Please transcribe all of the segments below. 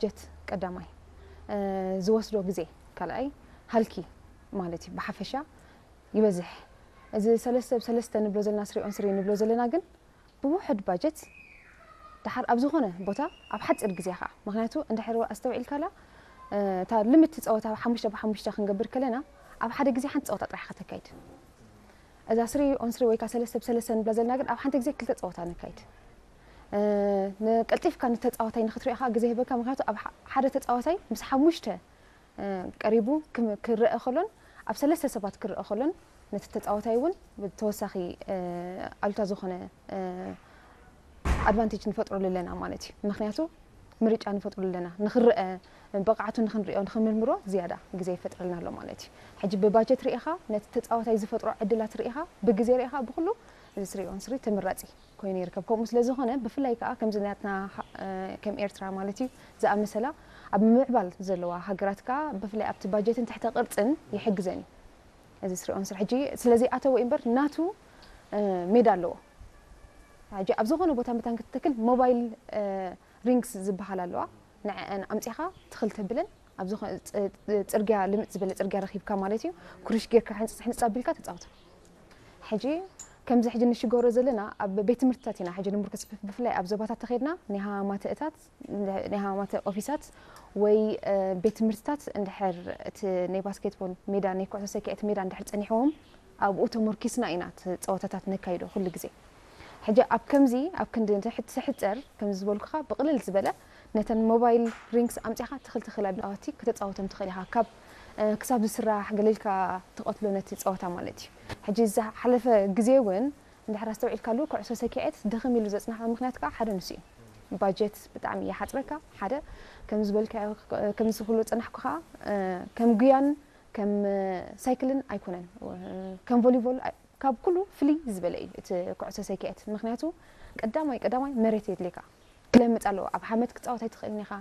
ጀት ቀዳማይ፣ እ፣ ዝወስዶ ግዜ ካልኣይ፣ ሃልኪ ማለት እዩ፣ ብሓፈሻ ይበዝሕ። እዚ ሰለስተ ብ ሰለስተ ንብሎ ዘለና፣ ስሪ ኦን ስሪ ንብሎ ዘለና ግን ብውሑድ ባጀት፣ ደሓር ኣብ ዝኾነ ቦታ ኣብ ሓፂር ግዜ ኸዓ፣ ምኽንያቱ እንድሕር ኣስተውዒልካላ፣ እ፣ እታ ልምቲ ፀወታ ሓሙሽተ ብሓሙሽተ ክንገብር ከለና፣ ኣብ ሓደ ግዜ ሓንቲ ፀወታ ጥራሕ ከተካይድ። እዛ ስሪ ኦን ስሪ ወይ ከዓ ሰለስተ ብ ሰለስተ ንብላ ዘለና ግን ኣብ ሓንቲ ግዜ ክልተ ፀወታ ነካይድ። እ፣ ንቀልጢፍካ ንተፃዋታይ ንክትሪኦ ከዓ ግዜ ይህበካ፣ ምኽንያቱ ኣብ ሓ-፣ ሓደ ተፃዋታይ ምስ ሓሙሽተ፣ እ፣ ቀሪቡ ክም-፣ ክረአ ከሎን ኣብ ሰለስተ ሰባት ክረአ ከሎን ነቲ ተፃዋታይ እውን ተወሳኺ፣ እ፣ ኣሉታ ዝኾነ፣ እ፣ ኣድቫንቴጅ ንፈጥረሉ ኣለና ማለት እዩ። ምኽንያቱ ምርጫ ንፈጥረሉ ኣለና። ንኽረአ፣ ብቕዓቱ ንኽንሪኦ፣ ንኽንምርምሮ ዝያዳ ግዜ ይፈጥረልና ኣሎ ማለት እዩ። ሕጂ ብባጀት ርኢኻ፣ ነቲ ተፃዋታይ ዝፈጥሮ ዕድላት ርኢኻ፣ ብግዜ ርኢኻ፣ ብኹሉ እዚ ስሪ ኦን ስሪ ተመራፂ ኮይኑ ይርከብ። ከምኡ ስለ ዝኾነ፣ ብፍላይ ከዓ ከምዚ ናትና ሃ-፣ እ፣ ከም ኤርትራ ማለት እዩ ዝኣመሰላ ኣብ ምምዕባል ዘለዋ ሃገራት ከዓ ብፍላይ ኣብቲ ባጀትን ትሕተ ቅርፅን ይሕግዘን እዩ። እዚ ስሪ ኦን ስሪ ሕጂ ስለ ዘይኣተወ እዩ እምበር ናቱ፣ እ፣ ሜዳ ኣለዎ። ሕጂ ኣብ ዝኾነ ቦታ መታን ክትተክል ሞባይል፣ እ፣ ሪንግስ ዝበሃል ኣለዋ። ንዐአን ኣምፂኻ ትኽል ተብለን ኣብ ዝኾ-፣ ፅ-፣ ፅርግያ ልምፅ ዝበለ ፅርግያ ረኺብካ ማለት እዩ። ኩርሽ ጌርካ ሕንፅፅ ሕንፅፅ ኣቢልካ ተፃወት። ሕጂ ከምዚ ሕጂ ንሽገሮ ዘለና ኣብ ቤት ትምህርትታት ኢና ሕጂ ንምርኩስ፣ ብፍ-፣ ብፍላይ ኣብ ዞባታት ተኸድና ናይ ሃማተእታት፣ ናይ ሃማተ ኦፊሳት ወይ፣ እ፣ ቤት ትምህርትታት እንድሕር እቲ ናይ ባስኬትቦል ሜዳ፣ ናይ ኩዕሶ ሰኪዐት ሜዳ እንድሕር ጸኒሕዎም፣ ኣብኡ ተመርኪስና ኢና እቲ ጸወታታት ነካይዶ ኩሉ ግዜ። ሕጂ ኣብ ከምዚ፣ ኣብ ክንዲ ንትሕት ትሕጸር፣ ከምዚ ዝበልኩኻ ብቕልል ዝበለ ነተን ሞባይል ሪንግስ ኣምጺኻ ትኽል ትኽል ኣቢልካ ከተጻወቶም ትኽእል ኢኻ። ካብ፣ እ፣ ክሳብ ዝስራሕ ገለ ኢልካ ትቐትሎ ነቲ ጸወታ ማለት እዩ። ሕጂ ዝሓለፈ ግዜ እውን እንድሕር ኣስተውዒልካሉ፣ ኩዕሶ ሰኪዔት ድኽም ኢሉ ዘጽንሓ ምኽንያት ከኣ ሓደ ንሱ እዩ። ባጀት ብጣዕሚ ይሓጽረካ፣ ሓደ። ከም ዝበልካዮ፣ ከም ዝኽሉ ጸናሕኩ ከኣ፣ እ፣ ከም ጉያን ከም ሳይክልን ኣይኮነን። እ፣ ከም ቮሊቦል ኣይ-፣ ካብ ኩሉ ፍልይ ዝበለ እዩ እቲ ኩዕሶ ሰኪዔት። ምኽንያቱ ቀዳማይ፣ ቀዳማይ መሬት የድልየካ። ክለምጽ ኣለዎ። ኣብ ሓመድ ክትጻወት ኣይትኽእልን ኢኻ፣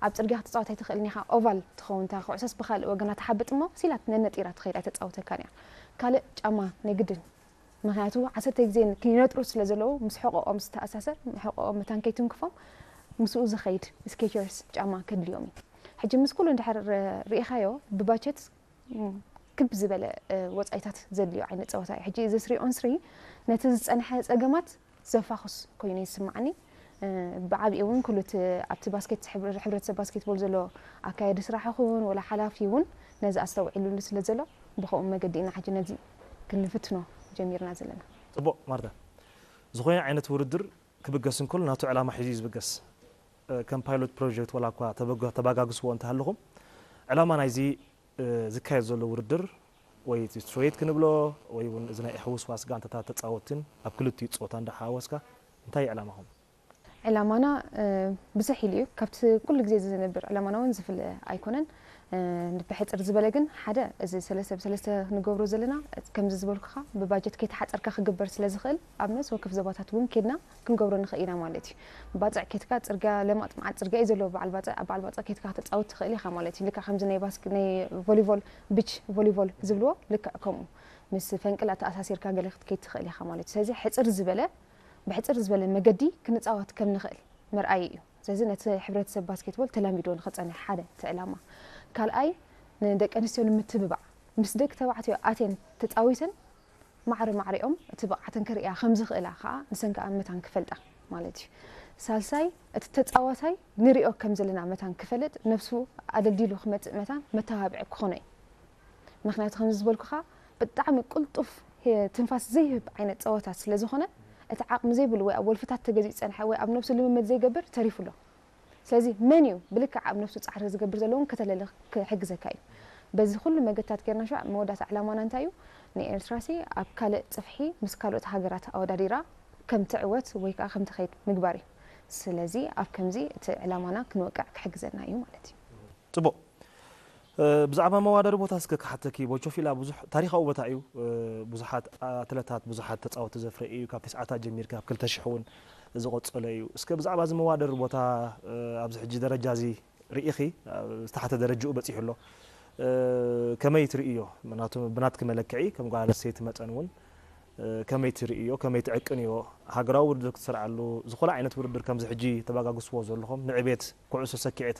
ኣብ ጽርግያ ክትጻወት ኣይትኽእልን ኢኻ። ኦቫል ትኸውን እታ ኩዕሶስ ብኻልእ ወገና ትሓብጥ እሞ ሲላት ነነጢራ ትኸይድ ኣይተጻውተካን እያ። ካልእ ጫማ ናይ ግድን። ምኽንያቱ ዓሰርተ ግዜ ክይነጥሩ ስለ ዘለዉ ምስ ሕቖኦም ዝተኣሳሰር፣ ሕቖኦም መታን ከይትንክፎም ምስኡ ዝኸይድ ስኬቸርስ ጫማ ከድልዮም እዩ። ሕጂ ምስ ኩሉ እንድሕር ርኢኻዮ ብባጀት፣ ም፣ ክብ ዝበለ፣ እ፣ ወጻኢታት ዘድልዮ ዓይነት ጸወታ እዩ። ሕጂ እዚ ስሪ ኦን ስሪ ነቲ ዝጸንሐ ጸገማት ዘፋኹስ ኮይኑ ይስምዓኒ። እ፣ ብዓቢኡ እውን ኩሉ እቲ ኣብቲ ባስኬት ሕብረ-፣ ሕብረተሰብ ባስኬትቦል ዘሎ ኣካያዲ ስራሕ ይኹን ወላ ሓላፊ እውን ነዚ ኣስተውዒሉሉ ስለ ዘሎ ብኸምኡ መገዲ ኢና ሕጂ ነዚ ክንፍትኖ ጀሚርና ዘለና። ጽቡቕ ማርታ፣ ዝኾነ ዓይነት ውድድር ክብገስ እንከሎ ናቱ ዕላማ ሒዙ እዩ ዝብገስ። እ፣ ከም ፓይሎት ፕሮጀክት ዋላ እኳ ተበጋ-፣ ተባጋግስዎ እንተሃለኹም፣ ዕላማ ናይዚ፣ እ፣ ዝካየድ ዘሎ ውድድር ወይ እቲ ስትሬት ክንብሎ ወይ እውን እዚ ናይ ሕውስዋስ ጋንታታት ተጻወትን ኣብ ክልቲኡ ጾታ እንዳሓወስካ እንታይ እዩ ዕላማኹም? ዕላማና፣ እ፣ ብዝሕ ኢሉ እዩ። ካብቲ ኩሉ ግዜ ዝነብር ዕላማና እውን ዝፍለ ኣይኮነን። እ፣ ብሕጽር ዝበለ ግን ሓደ እዚ ሰለስተ ብሰለስተ ንገብሮ ዘለና ከምዚ ዝበልኩኻ ብባጀት ከይተሓጸርካ ክግበር ስለ ዝኽእል ኣብ ነፍሲ ወከፍ ዞባታት እውን ኬድና ክንገብሮ ንኽእል ኢና ማለት እዩ። ባጽዕ ኬድካ ጽርግያ ለማጥ መዓት ጽርግያ እዩ ዘለዎ በዓል ባጽዕ፣ ኣብ በዓል ባጽዕ ኬድካ ከተጻውት ትኽእል ኢኻ ማለት እዩ። ልክዕ ከምዚ ናይ ባስክ-፣ ናይ ቮሊቦል፣ ቢች ቮሊቦል ዝብልዎ ልክዕ ከምኡ ምስ ፈንቅል ኣተኣሳሲርካ ገለ ክትከይድ ትኽእል ኢኻ ማለት እዩ። ስለዚ ሕጽር ዝበለ፣ ብሕጽር ዝበለ መገዲ ክንጻወት ከም ንኽእል መርኣዪ እዩ። ስለዚ ነቲ ሕብረተሰብ ባስኬትቦል ተላሚዶ ንኽጸንሕ ሓደ እቲ ዕላማ። ካልኣይ ንደቂ ኣንስትዮ ንምትብባዕ ምስ ደቂ ተባዕትዮ ኣትየን ተጻዊተን ማዕረ ማዕሪኦም እቲ ብቕዓተን ከርእያ ከም ዝኽእላ ከኣ ንሰን ከኣ መታን ክፈልጣ ማለት እዩ። ሳልሳይ እቲ ተጻዋታይ ንሪኦ ከም ዘለና መታን ክፈልጥ ነብሱ ኣደልዲሉ ክመጽእ መታን መተባብዒ ክኾኖ እዩ። ምኽንያቱ ከምዚ ዝበልኩኻ ብጣዕሚ ቅልጡፍ ህ-፣ ትንፋስ ዘይህብ ዓይነት ጸወታ ስለ ዝኾነ እቲ ዓቕሚ ዘይብሉ ወይ ኣብ ወልፍታት ተገዚኡ ዝጸንሐ ወይ ኣብ ነብሱ ልምምድ ዘይገብር ተሪፉ ኣሎ። ስለዚ መን እዩ ብልክዕ ኣብ ነብሱ ጻዕሪ ዝገብር ዘሎ እውን ከተለሊ ክሕግዘካ እዩ። በዚ ኩሉ መገድታት ጌርና ሸዋ መወዳእታ ዕላማና እንታይ እዩ? ንኤርትራሲ ኣብ ካልእ ጽፍሒ ምስ ካልኦት ሃገራት ኣወዳዲራ ከም ትዕወት ወይ ከኣ ከም ትኸይድ ምግባር እዩ። ስለዚ ኣብ ከምዚ እቲ ዕላማና ክንወቅዕ ክሕግዘና እዩ ማለት እዩ። ጽቡቕ። እ፣ ብዛዕባ መዋዳድሪ ቦታ እስከ ክሓተኪ፣ ቦቾፊላ ብዙሕ ታሪኻዊ ቦታ እዩ። እ፣ ብዙሓት ኣትለታት፣ ብዙሓት ተጻወቲ ዘፍረ እዩ። ካብ ተስዓታት ጀሚርካ ኣብ ክልተ ሽሕ እውን ዝቐጸለ እዩ። እስከ ብዛዕባ እዚ መዋዳድሪ ቦታ፣ እ፣ ኣብዚ ሕጂ ደረጃ እዚ ርኢኺ፣ ኣብ ዝተሓተ ደረጃኡ በጺሑ ኣሎ። እ፣ ከመይ ትርእዮ? ናቱ-፣ ብናትኪ መለክዒ፣ ከም ጓል ኣንስተይቲ መጠን እውን፣ እ፣ ከመይ ትርእዮ? ከመይ ትዕቅንዮ? ሃገራዊ ውድድር ክትሰርዓሉ፣ ዝኾነ ዓይነት ውድድር ከምዚ ሕጂ ተባጋግስዎ ዘለኹም፣ ንዕቤት ኩዕሶ ሰኪዔት